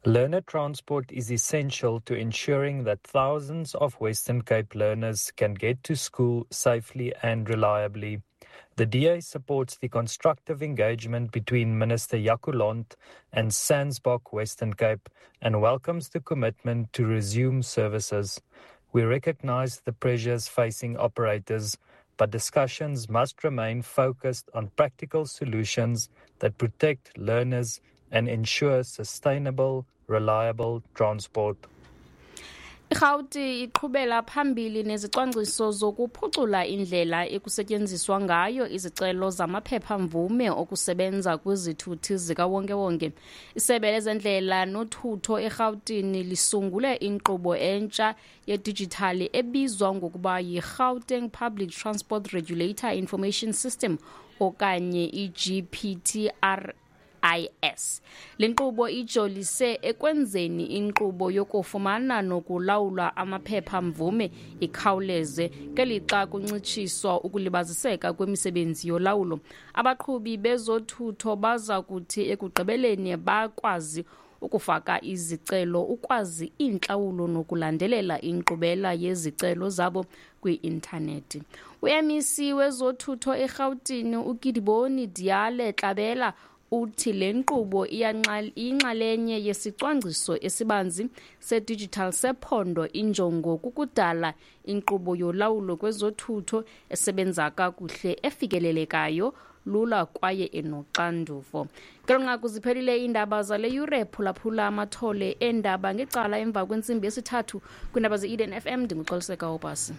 Learner transport is essential to ensuring that thousands of Western Cape learners can get to school safely and reliably. The DA supports the constructive engagement between Minister Jaco Londt and SANSBOC Western Cape and welcomes the commitment to resume services. We recognize the pressures facing operators, but discussions must remain focused on practical solutions that protect learners and ensure sustainable, reliable transport. IRhawuti iqhubela phambili nezicwangciso zokuphucula indlela ekusetyenziswa ngayo izicelo zamaphepha-mvume okusebenza kwizithuthi zikawonkewonke. Isebe lezendlela nothutho eRhawutini lisungule inkqubo entsha yedijithali ebizwa ngokuba yiGauteng Public Transport Regulator Information System okanye iGPTR IS. Le nkqubo ijolise ekwenzeni inkqubo yokufumana nokulawula amaphepha-mvume ikhawuleze ngelixa kuncitshiswa ukulibaziseka kwemisebenzi yolawulo. Abaqhubi bezothutho baza kuthi ekugqibeleni bakwazi ukufaka izicelo, ukwazi iintlawulo nokulandelela inkqubela yezicelo zabo kwi-intanethi. U-MEC wezothutho eRhawutini uKidiboni Diale Tlabela uthi le nkqubo iyinxalenye yesicwangciso esibanzi sedigital sephondo. Injongo kukudala inkqubo yolawulo kwezothutho esebenza kakuhle, efikelelekayo lula kwaye enoxanduvo. Ngelo nqaku ziphelile iindaba zale yure. Phulaphula amathole eendaba ngecala emva kwentsimbi yesithathu kwiindaba ze-Eden FM. Ndinguxoliseka Obasi.